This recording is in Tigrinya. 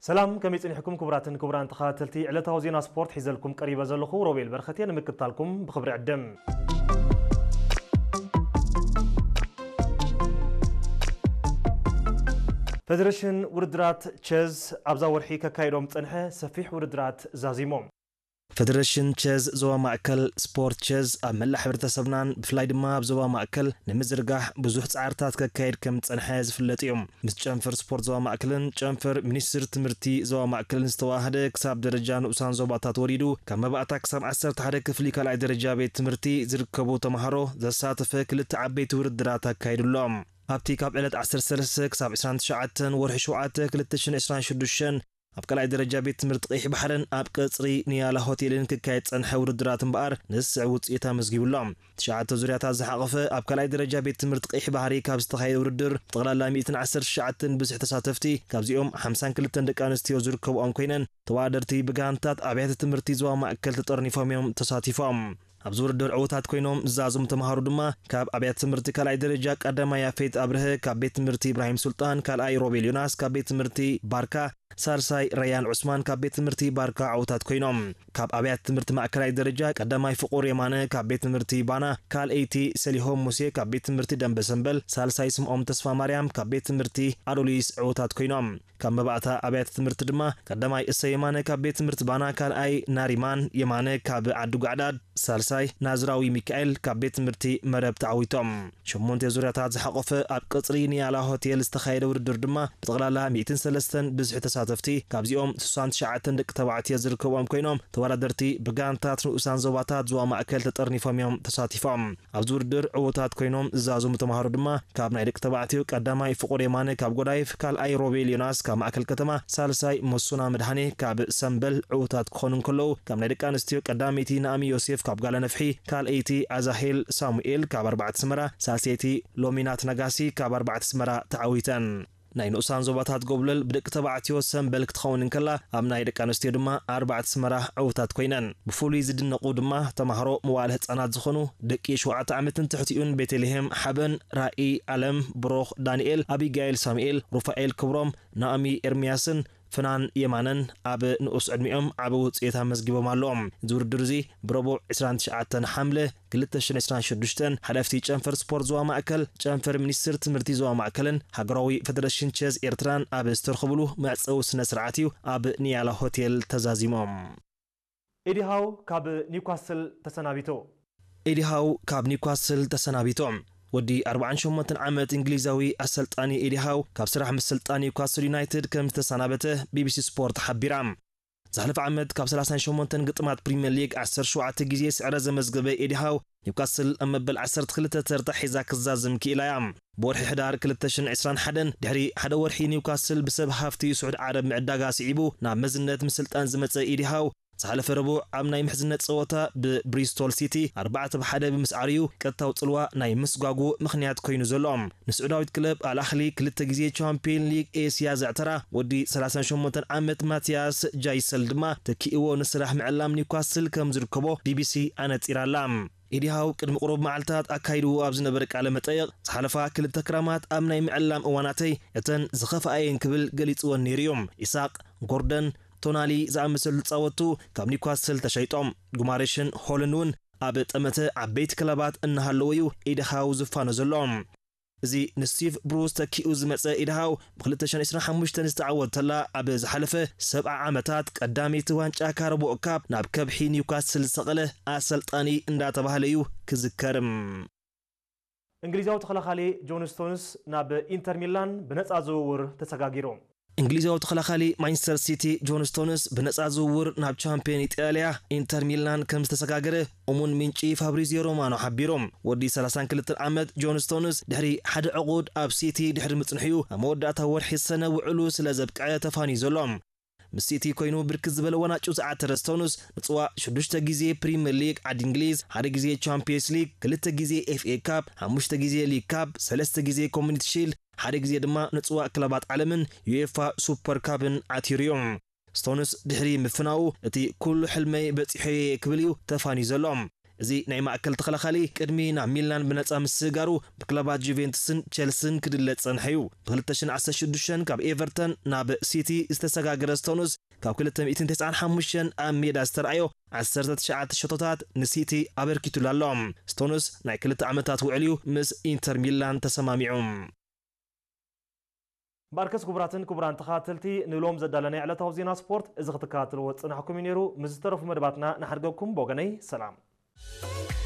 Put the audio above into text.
ሰላም፣ ከመይ ጸኒሕኩም ክቡራትን ክቡራን ተኸታተልቲ ዕለታዊ ዜና ስፖርት? ሒዘልኩም ቀሪበ ዘለኹ ሮቤል በረኸት እየ። ንምክትታልኩም ብኽብሪ ዕድም። ፌደሬሽን ውድድራት ቸዝ ኣብዛ ወርሒ ከካይዶም ዝጸንሐ ሰፊሕ ውድድራት ዛዚሞም። ፌደሬሽን ቸዝ ዞባ ማእከል ስፖርት ቸዝ ኣብ መላእ ሕብረተሰብናን ብፍላይ ድማ ኣብ ዞባ ማእከል ንምዝርጋሕ ብዙሕ ጻዕርታት ከካይድ ከም ዝጸንሐ ዝፍለጥ እዩ። ምስ ጨንፈር ስፖርት ዞባ ማእከልን ጨንፈር ሚኒስትሪ ትምህርቲ ዞባ ማእከልን ዝተዋሃደ ክሳብ ደረጃ ንኡሳን ዞባታት ወሪዱ ካብ መባእታ ክሳብ ዓሰርተ ሓደ ክፍሊ ካልኣይ ደረጃ ቤት ትምህርቲ ዝርከቡ ተምሃሮ ዘሳተፈ ክልተ ዓበይቲ ውድድራት ኣካይዱ ኣሎ። ኣብቲ ካብ ዕለት ዓሰርተ ሰለስተ ክሳብ ዕስራን ትሽዓተን ወርሒ ሸውዓተ ክልተ ሽሕን ዕስራን ሽዱሽተን ኣብ ካልኣይ ደረጃ ቤት ትምህርቲ ቀይሕ ባሕርን ኣብ ቀጽሪ ንያላ ሆቴልን ክካየድ ጸንሐ ውድድራት እምበኣር ንዝስዕብ ውጽኢት ኣመዝጊቡ ኣሎ። ትሽዓተ ዙርያታት ዝሓቐፈ ኣብ ካልኣይ ደረጃ ቤት ትምህርቲ ቀይሕ ባሕሪ ካብ ዝተኻየደ ውድድር ብጠቕላላ ሚእትን ዓሰርተ ትሽዓተን ብዝሒ ተሳተፍቲ፣ ካብዚኦም ሓምሳን ክልተን ደቂ ኣንስትዮ ዝርከብኦም ኮይነን፣ ተወዳደርቲ ብጋንታት ኣብያተ ትምህርቲ ዞባ ማእከል ተጠርኒፎም እዮም ተሳቲፎም። ኣብዚ ውድድር ዕዉታት ኮይኖም ዝዛዘሙ ተምሃሮ ድማ ካብ ኣብያተ ትምህርቲ ካልኣይ ደረጃ ቀዳማይ ያፌት ኣብርሀ ካብ ቤት ትምህርቲ ኢብራሂም ሱልጣን፣ ካልኣይ ሮቤል ዮናስ ካብ ቤት ትምህርቲ ባርካ፣ ሳልሳይ ረያን ዑስማን ካብ ቤት ትምህርቲ ባርካ ዕዉታት ኮይኖም። ካብ ኣብያተ ትምህርቲ ማእከላይ ደረጃ ቀዳማይ ፍቑር የማነ ካብ ቤት ትምህርቲ ባና፣ ካልኣይቲ ሰሊሆም ሙሴ ካብ ቤት ትምህርቲ ደንበ ሰምበል፣ ሳልሳይ ስምኦም ተስፋ ማርያም ካብ ቤት ትምህርቲ ኣዶሊስ ዕዉታት ኮይኖም። ካብ መባእታ ኣብያተ ትምህርቲ ድማ ቀዳማይ እሰይ የማነ ካብ ቤት ትምህርቲ ባና፣ ካልኣይ ናሪማን የማነ ካብ ዓዲ ጓዕዳድ፣ ሳልሳይ ናዝራዊ ሚካኤል ካብ ቤት ትምህርቲ መረብ ተዓዊቶም። ሸሞንተ ዙርያታት ዝሓቖፈ ኣብ ቀጽሪ ንያላ ሆቴል ዝተኻየደ ውድድር ድማ ብጠቕላላ ሚእትን ሰለስተን ብዝሒ ተሳተፍቲ፣ ካብዚኦም ስሳን ትሽዓተን ደቂ ተባዕትዮ ዝርከብዎም ኮይኖም፣ ተወዳደርቲ ብጋንታት ንኡሳን ዞባታት ዞባ ማእከል ተጠርኒፎም እዮም ተሳቲፎም። ኣብዚ ውድድር ዕዉታት ኮይኖም ዝዛዘሙ ተምሃሮ ድማ ካብ ናይ ደቂ ተባዕትዮ ቀዳማይ ፍቑር የማነ ካብ ጎዳይፍ፣ ካልኣይ ሮቤል ዮናስ ካብ ማእከል ከተማ፣ ሳልሳይ መሱና መድሃኔ ካብ ሰምበል ዕዉታት ክኾኑ እንከለዉ፣ ካብ ናይ ደቂ ኣንስትዮ ቀዳመይቲ ናእሚ ዮሴፍ ካብ ጋላ ነፍሒ፣ ካልኣይቲ ኣዛሄል ሳሙኤል ካብ ኣርባዕተ ኣስመራ፣ ሳልሰይቲ ሎሚናት ነጋሲ ካብ ኣርባዕተ ኣስመራ ተዓዊተን። ናይ ንኡሳን ዞባታት ጎብለል ብደቂ ተባዕትዮ ሰምበል ክትኸውን እንከላ፣ ኣብ ናይ ደቂ ኣንስትዮ ድማ ኣርባዕተ ኣስመራ ዕዉታት ኮይነን። ብፍሉይ ዝድነቑ ድማ ተማሃሮ መዋእለ ህጻናት ዝኾኑ ደቂ ሸውዓተ ዓመትን ትሕቲኡን ቤተልሔም ሓበን፣ ራኢ ኣለም፣ ብሩኽ ዳንኤል፣ ኣቢጋኤል ሳሙኤል፣ ሩፋኤል ክብሮም፣ ናኦሚ ኤርምያስን ፍናን የማነን ኣብ ንኡስ ዕድሚኦም ዓቢ ውጽኢት ኣመዝጊቦም ኣለዎም። እዚ ውድድር እዚ ብረቡዕ ዕስራን ትሽዓተን ሓምለ ክልተ ሽሕን ዕስራን ሽዱሽተን ሓለፍቲ ጨንፈር ስፖርት ዞባ ማእከል፣ ጨንፈር ሚኒስትር ትምህርቲ ዞባ ማእከልን ሃገራዊ ፈደረሽን ቸዝ ኤርትራን ኣብ ዝተረኸብሉ መዕጸዊ ስነ ስርዓት እዩ ኣብ ንያላ ሆቴል ተዛዚሞም። ኤዲ ሃው ካብ ኒውካስል ተሰናቢቱ። ኤዲ ሃው ካብ ኒውካስል ተሰናቢቱ። ወዲ ኣርባዓን ሸሞንተን ዓመት እንግሊዛዊ ኣሰልጣኒ ኤዲ ሃው ካብ ስራሕ ምስልጣን ኒውካስል ዩናይትድ ከም ዝተሰናበተ ቢቢሲ ስፖርት ሓቢራ። ዝሓለፈ ዓመት ካብ ሰላሳን ሸሞንተን ግጥማት ፕሪምየር ሊግ ዓሰርተ ሸውዓተ ግዜ ስዕረት ዘመዝገበ ኤዲ ሃው፣ ኒውካስል ኣብ መበል ዓሰርተ ክልተ ተርታ ሒዛ ክዛዝም ክኢላ እያ። ብወርሒ ሕዳር ክልተ ሽሕን ዕስራን ሓደን ድሕሪ ሓደ ወርሒ ኒውካስል ብሰብ ሃፍቲ ስዑድ ዓረብ ምዕዳጋ ስዒቡ ናብ መዝነት ምስልጣን ዝመጸ ኤዲ ሃው፣ ዝሓለፈ ረቡዕ ኣብ ናይ ምሕዝነት ጸወታ ብብሪስቶል ሲቲ ኣርባዕተ ብ ሓደ ብምስዓር እዩ ቀጥታዊ ጽልዋ ናይ ምስጓጉ ምኽንያት ኮይኑ ዘሎ። ንስዑዳዊት ክለብ ኣል ኣህሊ ክልተ ግዜ ቻምፒዮን ሊግ ኤስያ ዘዕተራ ወዲ ሰላሳን ሸሞንተን ዓመት ማቲያስ ጃይሰል ድማ ተኪእዎ ንስራሕ ምዕላም ኒውካስል ከም ዝርከቦ ቢቢሲ ኣነጺራ ኣላ። ኤዲ ሃው ቅድሚ ቁሩብ መዓልታት ኣካይድዎ ኣብ ዝነበረ ቃለ መጠይቕ፣ ዝሓለፋ ክልተ ክራማት ኣብ ናይ ምዕላም እዋናተይ እተን ዝኸፍኣ እየን ክብል ገሊጽወን ነይሩ እዩ። ኢሳቕ፣ ጎርደን፣ ቶናሊ ዝኣመሰሉ ተጻወትቱ ካብ ኒውካስል ተሸይጦም። ጉማሬሽን ሆልን እውን ኣብ ጠመተ ዓበይቲ ክለባት እናሃለወ እዩ ኤዲ ሃው ዝፋኖ ዘሎ። እዚ ንስቲቭ ብሩስ ተኪኡ ዝመጸ ኤዲ ሃው ብ ክልተ ሽሕን ዕስራን ሓሙሽተን ዝተዓወተላ ኣብ ዝሓለፈ ሰብዓ ዓመታት ቀዳመይቲ ዋንጫ ካራቦኦ ካፕ ናብ ከብሒ ኒውካስል ዝሰቐለ ኣሰልጣኒ እንዳተባህለ እዩ ክዝከር። እንግሊዛዊ ተኸላኻሊ ጆን ስቶንስ ናብ ኢንተር ሚላን ብነጻ ዝውውር ተሰጋጊሩ። እንግሊዛዊ ተኸላኻሊ ማንቸስተር ሲቲ ጆን ስቶንስ ብነጻ ዝውውር ናብ ቻምፒዮን ኢጣልያ ኢንተር ሚላን ከም ዝተሰጋገረ እሙን ምንጪ ፋብሪዚዮ ሮማኖ ሓቢሩ። ወዲ ሰላሳን ክልተን ዓመት ጆን ስቶንስ ድሕሪ ሓደ ዕቑድ ኣብ ሲቲ ድሕሪ ምጽንሕኡ፣ ኣብ መወዳእታ ወርሒ ሰነ ውዕሉ ስለ ዘብቅዐ ተፋንዩ ዘሎ። ምስ ሲቲ ኮይኑ ብርክት ዝበለ ዋንጫ ዝዓተረ ስቶንስ፣ ንጽዋዕ ሽዱሽተ ግዜ ፕሪምየር ሊግ ዓዲ እንግሊዝ፣ ሓደ ግዜ ቻምፒየንስ ሊግ፣ ክልተ ግዜ ኤፍ ኤ ካፕ፣ ሓሙሽተ ግዜ ሊግ ካፕ፣ ሰለስተ ግዜ ኮሚኒቲ ሺልድ፣ ሓደ ግዜ ድማ ንጽዋዕ ክለባት ዓለምን ዩኤፋ ሱፐር ካፕን ዓቲሩ እዩ። ስቶንስ ድሕሪ ምፍናዉ፣ እቲ ኩሉ ሕልመይ በጺሐዮ እየ ክብል እዩ ተፋንዩ ዘሎ። እዚ ናይ ማእከል ተኸላኻሊ ቅድሚ ናብ ሚላን ብነጻ ምስጋሩ ብክለባት ጁቬንቱስን ቸልስን ክድለ ዝጸንሐ እዩ። ብ2016 ካብ ኤቨርተን ናብ ሲቲ ዝተሰጋገረ ስቶንስ፣ ካብ 295 ኣብ ሜዳ ዝተረኣዮ 19 ሸቶታት ንሲቲ ኣበርኪቱሉ ኣሎ። ስቶንስ ናይ ክልተ ዓመታት ውዕል እዩ ምስ ኢንተር ሚላን ተሰማሚዑ። ባርከስ ክቡራትን ክቡራን ተኸታተልቲ፣ ንሎም ዘዳለናይ ዕለታዊ ዜና ስፖርት እዚ ክትከታተልዎ ዝጸናሕኩም እዩ ነይሩ። ምስ ዝተረፉ መደባትና ንሓድገኩም። ብወገነይ ሰላም።